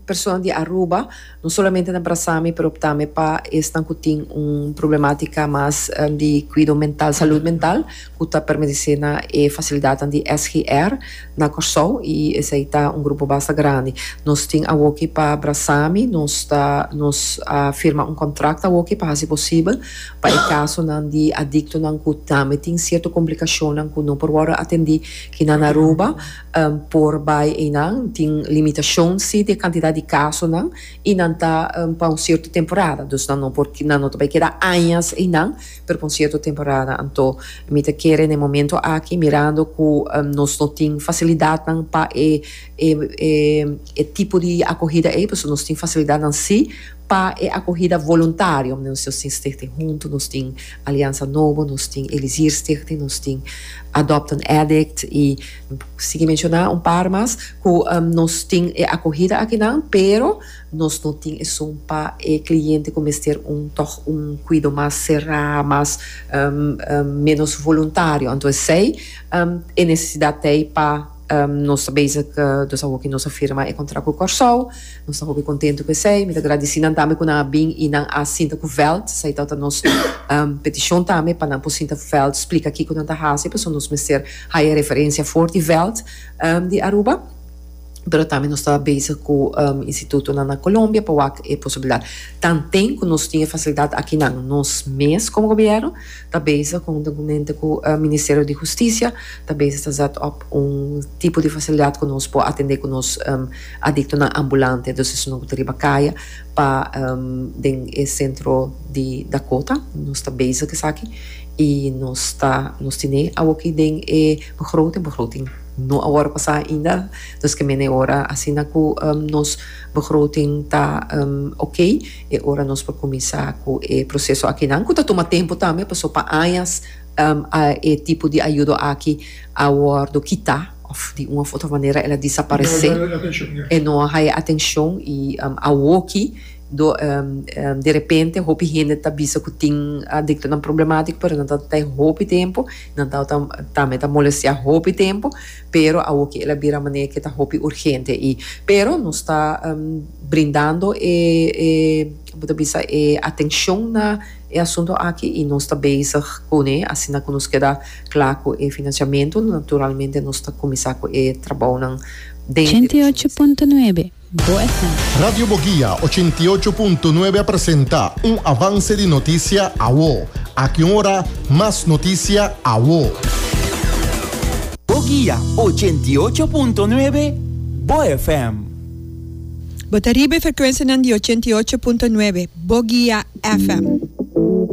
persona di Aruba, no solamente na Brasami pero tambe pa esnan cu tin un problematica mas di cuido mental, salud mental, cu ta permanece na e facilidadnan di SGR na Corsou y esey ta un grupo basta grandi. Nos tin awoki pa Brasami, nos ta nos a firma un contract awoki pa haci posibel pa e casonan di adictonan cu tambe tin cierto complicacionnan cu no por wordo atendi kinan na Aruba por bai einan. Tin limitacion si di e cantidad di casonan y nan ta pa un cierto temporada, dus nan no por nan no ta bai keda añas einan. Pero pa un cierto temporada. Anto mi ta kere na e momento aki mirando cu nos no tin facilidadnan pa e e e tipo di acogida ey, pasobra nos tin facilidadnan si pa e acogida voluntario. Nos tin Stichting Hunto, nos tin Alianza Nobo, nos tin Elisier Stichting, nos tin Adopt an Addict y sigui menciona un par mas cu nos tin e acogida akinan, pero. Nos no tin esun pa e cliente cu mester un toch un cuido mas cera, mas menos voluntario. Anto esey e necesidad t'ey pa nos ta bezig, dus awoki nos a firma e contract cu Corsou. Nos ta hopi contento cu esey. Mi ta gradici nan tambe cu nan a bin y nan a sinta cu veld. Esey tabata nos peticion tambe pa nan por sinta veld splica kico nan ta haci pasobra nos mester haya referencia for di veld di Aruba. Pero tambe nos ta bezig ku institutonan na Colombia pa wak e posibilidat. Tanten ku nos tin e fasilidat akinan, nos mes komo gobièrnu ta bezig konhuntamente ku Ministerio di Hustisia ta bezig ta zet op un tipo di fasilidat ku nos por atendé ku nos adiktonan ambulante, dus esun ku ta riba kaya pa den e sentro di Dakota. Nos ta bezig ku esaki i nos ta nos tene awoki den e begroting, begroting. No a wòrdu pasá ainda, dus ke mene ora asina ku nos begroting ta oké, e ora nos por kuminsá ku e proseso akinan, ku ta tuma tempu tambe, pasobra pa añas e tipo di ayudo aki a wòrdu kitá òf di un òf otro manera el a disaparesé, e no a haya atenshon i awoki Do de repente hopi hende ta bisa ku tin adiktonan problemátiko pero nan ta ta hopi tempu, nan ta tambe ta molestiá hopi tempu, pero awoki el a bira manera ke ta hopi urgente i pero nos ta brindando e e bo ta bisa e atenshon na e asunto aki i nos ta bezig kuné asina ku nos keda kla ku e finansiamentu naturalmente nos ta kuminsá ku e trabounan den e direkshon esei. 88.9 Bo FM. Radio Boguia 88.9 a presenta un avance di noticia awo. Aki un ora, mas noticia awo. Boguia 88.9 Bo FM. Bo ta riba e frekuensianan di 88.9 Boguia FM.